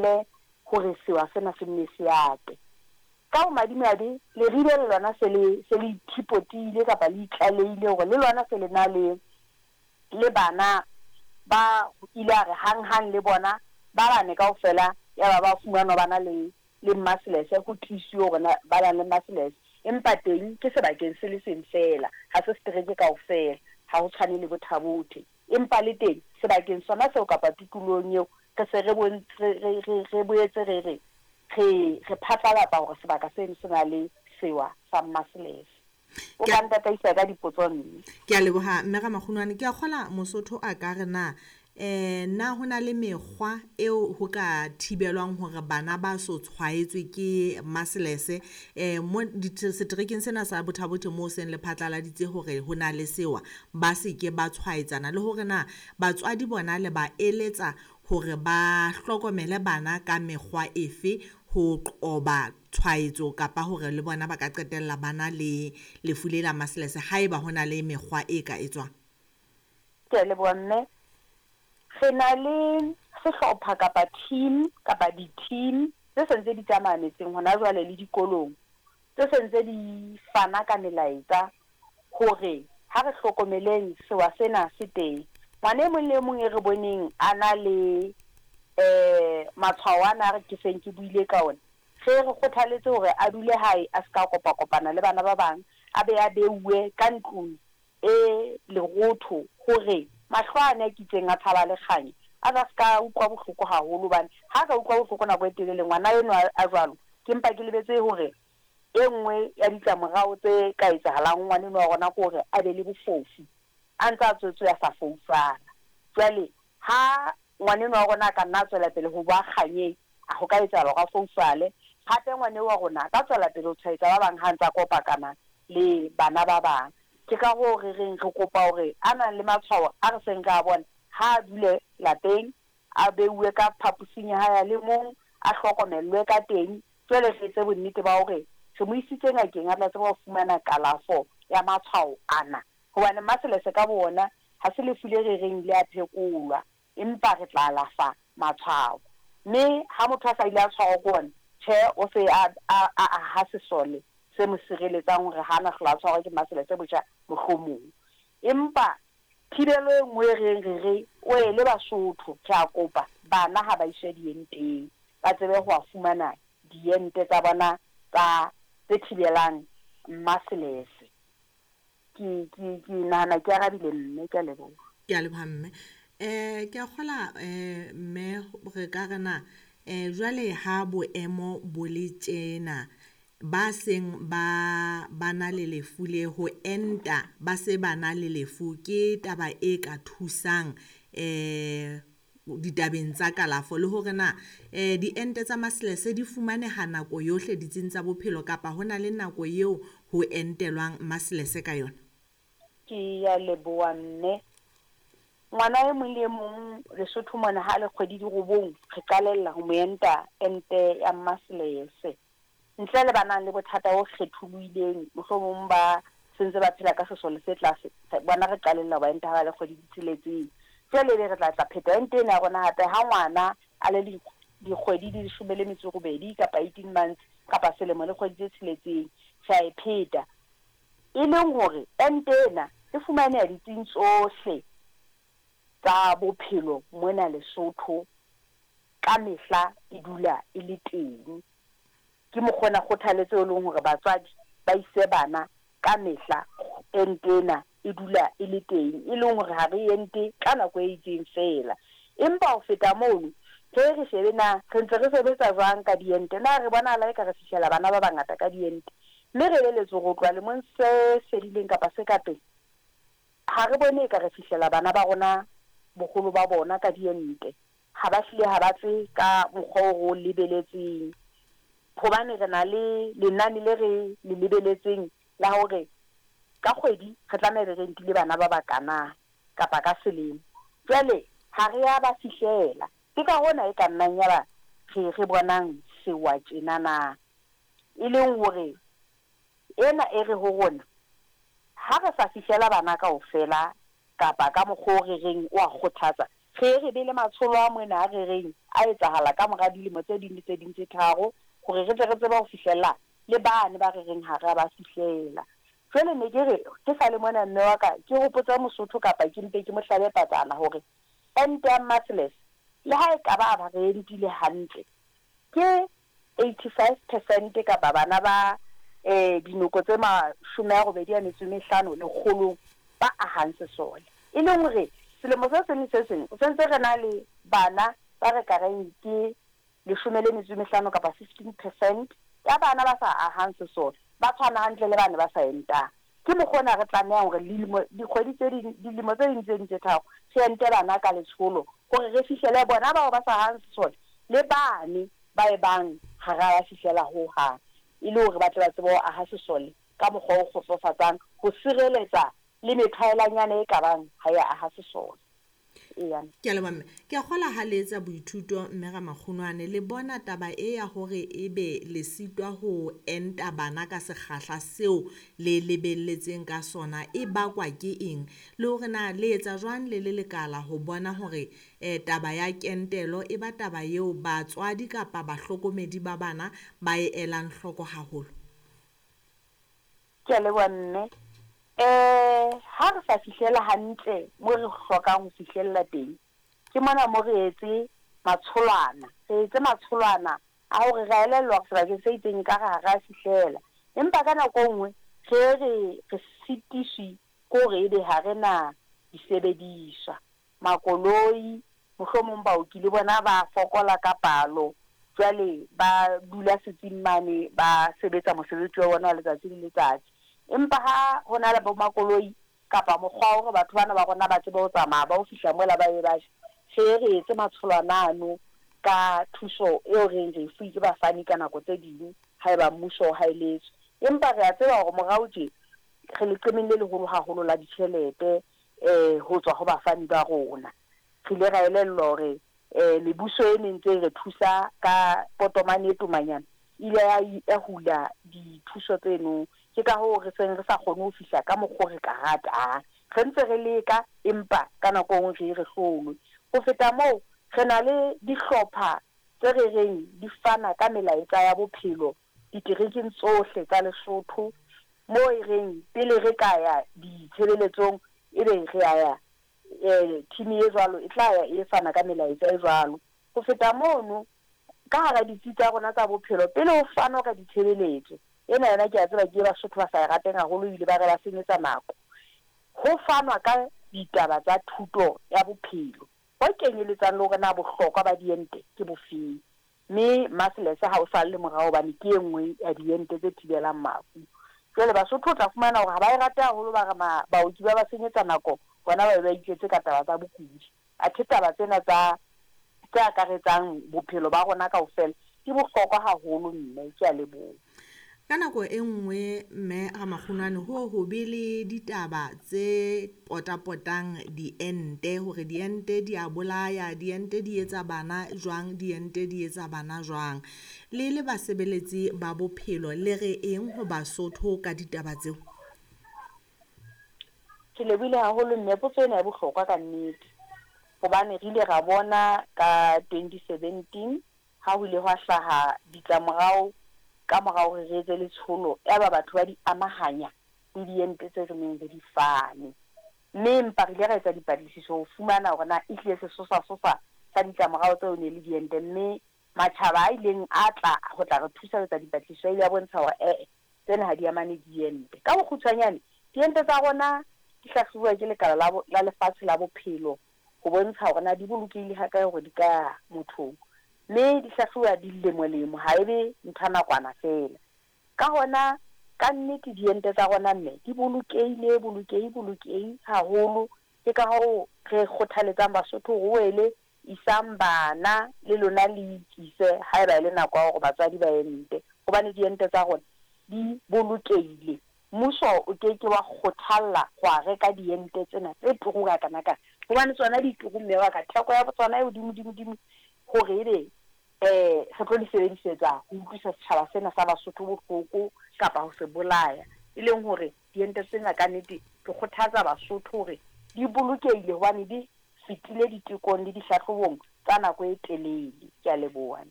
thibele hore sewa sena se nne se ate. Ka bomadimabe, Leribe le lona se le se le ithipotile kapa le itlalehile hore le lona se le na le le bana ba ile a re hanghang le bona ba bane kaofela yaba ba fumanwa ba na le le mmaselese, ho tiisiwe hore na ba nang le mmaselese. Empa teng ke sebakeng se le seng feela, ha se setereke kaofela, ha ho tshwane le Botha-Bothe. Empa le teng sebakeng sona seo kapa tikolohong eo, re se re re, re, re, re boetse re re, re, re phatlalatsa hore sebaka seno se na le sewa sa mmaselese. O ka ntataisa ka dipotso mme. Ke a leboha mme Ramakgunwane. Ke a kgola Mosotho a ka re na eh na ho na le mekgwa eo ho ka thibelwang hore bana ba so tshwaetswe ke maselese eh mo seterekeng sena sa Botha-Bothe moo seng le phatlaladitse hore ho na le sewa, ba se ke ba tshwaetsana, le hore na batswadi bona le ba eletsa hore ba hlokomele bana ka mekgwa efe ho qoba tshwaetso kapa hore le bona ba ka qetella ba na le lefu le la maselese haeba ho na le mekgwa e ka etswang? Ke a leboha mme. Re na le sehlopha kapa team kapa di-team tse sentse di tsamaya metseng hona jwale le dikolong, tse sentse di fana ka melaetsa hore ha re hlokomeleng sewa sena se teng. Ngwana e mong le e mong e re boneng a na le um matshwao ana a re ke seng ke buile ka ona, re re kgothaletse hore a dule hae a se ka kopakopana le bana ba bang, a be a beuwe ka ntlong e lerotho hore mahlo ane a kitseng a tshaba le kganya a tla se ka utlwa bohloko haholo, hobane ha a ka utlwa bohloko nako e telele ngwana enwa a jwalo, ke mpa ke lebetse hore e nngwe ya ditlamorao tse ka etsahalang ho ngwana enwa wa rona ke hore a be le bofofu a ntse a tswetswe a sa foufala. Jwale ha ngwana enwa wa rona a ka nna a tswela pele ho ba kganyeng, a ho ka etsahala hore a foufale. Hape ngwana eo wa rona a ka tswela pele ho tshwaetsa ba bang ha ntse a kopakana le bana ba bang. Ke ka hoo re reng re kopa hore a nang le matshwao a re seng re a bona, ha a dule lapeng, a beuwe ka phaposing ya hae a le mong, a hlokomellwe ka teng. Jwale re etse bonnete ba hore re mo isitse ngakeng a tla tseba ho fumana kalafo ya matshwao ana. Hobane maselese ka bowona ha se lefu le re reng le a phekolwa, empa re tla alafa matshwao. Mme ha motho a sa ile a tshwarwa ke ona, tjhe, o se a, a, a aha sesole se mo sireletsang hore ha a na hlola a tshwarwa ke maselese botjha mohlomong. Empa thibelo e nngwe e reng re re, Oele Basotho, re a kopa, bana ha ba iswe dienteng, ba tsebe ho a fumana diente tsa bona tsa, tse thibelang maselese. Ke, ke, ke nahana ke arabile mme, ke a leboha. Ke a leboha mme. Eh ke a kgola eh mme re ka re na eh jwale ha boemo bo le tjena, ba seng ba ba na le lefu le ho enta ba se ba na le lefu ke taba e ka thusang eh ditabeng tsa kalafo, le hore na eh diente tsa maselese di fumaneha nako yohle ditsing tsa bophelo kapa ho na le nako eo ho entelwang maselese ka yona? Ke a leboha mme. Ngwana e mong le e mong Lesotho mona ha le kgwedi di robong re qalella ho mo enta ente ya maselese. Ntle le ba nang le bothata bo kgetholohileng, mohlomong ba sentse ba phela ka sesole se tlase, bona re qalella ho ba enta ha ba le kgwedi di tsheletseng. Jwale ebe re tla tla pheta ente ena ya rona hape ha ngwana a le dikgwedi di leshome le metso e robedi kapa 18 months kapa selemo le kgwedi tse tsheletseng, re a e pheta. E leng hore ente ena e fumaneha ditsing tsohle tsa bophelo mona Lesotho ka mehla e dula e le teng. Ke mokgwa ona kgothaletso e leng hore batswadi ba ise bana ka mehla ente ena e dula e le teng, e leng hore ha re ente ka nako e itseng feela. Empa ho feta mono, re re shebe na re ntse re sebetsa jwang ka diente, na re bonahala eka re fihlela bana ba bangata ka diente, mme re eleletswe hore ho tloha lemong se fedileng kapa se ka pele, ha re bone eka re fihlela bana ba rona boholo ba bona ka diente. Ha ba hlile ha ba tle ka mokgwa o re o lebeletseng, hobane re na le lenane le re le lebeletseng la hore ka kgwedi re tlameha be re entile bana ba bakana kapa ka selemo. Jwale ha re ya ba fihlela. Ke ka hona e ka nnang yaba re re bonang sewa tjena na. E leng hore ena e re ho rona ha re sa fihlela bana kaofela kapa ka mokgwa o re reng o a kgothatsa, Re ye re be le matsholo a mona a re reng a etsahala ka mora dilemo tse ding le tse ding tse tharo hore re tle re tsebe ho fihlella le bane ba re reng ha re a ba fihlela. Jwale ne ke re ke sa le mona mme wa ka ke hopotse Mosotho kapa ke mpe ke mo hlabe patsana hore ente ya Mmaseles le ha e ka ba ba re entile hantle ke 85 percent kapa bana ba dinoko tse 85 lekgolong ba ahang sesole. E leng hore selemo se seng le se seng re sentse re na le bana ba re ka reng ke 15 kapa 15 percent ya bana ba sa ahang sesole, ba tshwana hantle le bane ba sa entang. Ke mokgwa ona re tlamehang hore lilemo, dikgwedi tse ding, dilemo tse ding tse ding tse tharo re ente bana ka letsholo hore re fihlele bona bao ba sa ahang sesole le bane ba e bang ha ra ba fihlela ho hang, e le hore ba tle ba tsebe ho aha sesole ka mokgwa o kgotsofatsang ho sireletsa le methwaelanyana e ka bang ha ya aha sesole. Eya. Ke a leboha mme. Ke a kgola ha le etsa boithuto mme Ramakgunwane, le bona taba e ya hore ebe le sitwa ho enta bana ka sekgahla seo le lebelletseng ka sona e bakwa ke eng? Le hore na le etsa jwang le le lekala ho bona hore taba ya kentelo e ba taba eo batswadi kapa bahlokomedi ba bana ba e elang hloko haholo? Ke a leboha mme. Ha re sa fihlela hantle mo re hlokang ho fihlella teng, ke mona mo re etse matsholwana. Re etse matsholwana a hore re a elellwa hore sebakeng se itseng ekare ha re a fihlela. Empa ka nako e nngwe re re re sitiswi ke hore ebe ha re na disebediswa, makoloi, mohlomong baoki le bona ba fokola ka palo, jwale ba dula setsing mane ba sebetsa mosebetsi wa bona wa letsatsi le letsatsi. Empa ha ho na le bo makoloi kapa mokgwa wa hore batho bana ba rona ba tsebe ho tsamaya ba ho fihla mola ba be ba je, re re etse matsholwana ano ka thuso eo reng re e fuwe ke bafani ka nako tse ding haeba mmuso o haeletswe. Empa re a tseba hore morao tje re leqemeng le leholo haholo la ditjhelete ho tswa ho bafani ba rona. Re ile ra elellwa hore mebuso e neng ntse e re thusa ka potomane e tomanyana e ile ya hula dithuso tseno. Ke ka hoo re seng re sa kgone ho fihla ka mokgwa o re ka ratang. Re ntse re leka empa ka nako e nngwe re ye re hlolwe. Ho feta moo, re na le dihlopha tse re reng di fana ka melaetsa ya bophelo diterekeng tsohle tsa Lesotho moo e reng pele re ka ya ditshebeletsong ebe re a ya, team e jwalo e tla ya e fana ka melaetsa e jwalo. Ho feta mono, ka hara ditsi tsa rona tsa bophelo pele ho fanwa ka ditshebeletso, ena yona ke a tseba ke e Basotho ba sa e rateng haholo ebile ba re ba senyetsa nako, ho fanwa ka ditaba tsa thuto ya bophelo ho kenyeletsang le hore na bohlokwa ba diente ke bofeng. Mme Maselese ha o salle morao hobane ke e nngwe ya diente tse thibelang mafu. Jwale Basotho o tla fumana hore ha ba e rate haholo, ba re baoki ba ba senyetsa nako, bona ba be ba itletse ka taba tsa bokudi. Athe taba tsena tsa tse akaretsang bophelo ba rona kaofela di bohlokwa haholo mme, ke a leboha. Ka nako e nngwe mme Ramakgunwane ho ho be le ditaba tse potapotang diente hore diente di a bolaya, diente di etsa bana jwang, diente di etsa bana jwang. Le le basebeletsi ba bophelo le re eng ho Basotho ka ditaba tseo? Ke lebohile haholo mme, potso ena e bohlokwa ka nnete. Hobane re ile ra bona ka 2017 ha ho ile hwa hlaha ditlamorao ka mora hore re etse letsholo, yaba batho ba di amahanya le diente tse re neng re di fane. Mme empa re ile ra etsa dipatlisiso ho fumana hore na ehlile sesosa-sosa sa ditlamorao tseo ne le diente, mme matjhaba a ileng a tla ho tla re thusa ho etsa dipatlisiso a ile a bontsha hore ee, tsena ha di amane le diente. Ka bokgutshwanyane, diente tsa rona di hlahlobuwa ke lekala la, la lefatshe la bophelo ho bontsha hore na di bolokehile hakae hore di ka ya mothong. Mme di hlahlobuwa dilemolemo, ha e be ntho ya nakwana feela. Ka hona, ka nnete diente tsa rona mme di bolokehile, bolokehi, bolokehi haholo. Ke ka hoo re kgothaletsang Basotho hore wele isang bana le lona le ikise haeba e le nako ya hore batswadi ba ente, hobane diente tsa rona di bolokehile. Mmuso o ke ke wa kgothalla ho a reka diente tsena tse turu hakanakana, hobane tsona di turu mme wa ka, theko ya tsona e hodimo-dimo-dimo hore ebe re tlo di sebedisetsa ho utlwisa setjhaba sena sa Basotho bohloko kapa ho se bolaya. E leng hore diente tsena ka nnete ke kgothatsa Basotho hore di bolokehile hobane di fetile ditekong le dihlahlobong tsa nako e telele. Ke a leboha.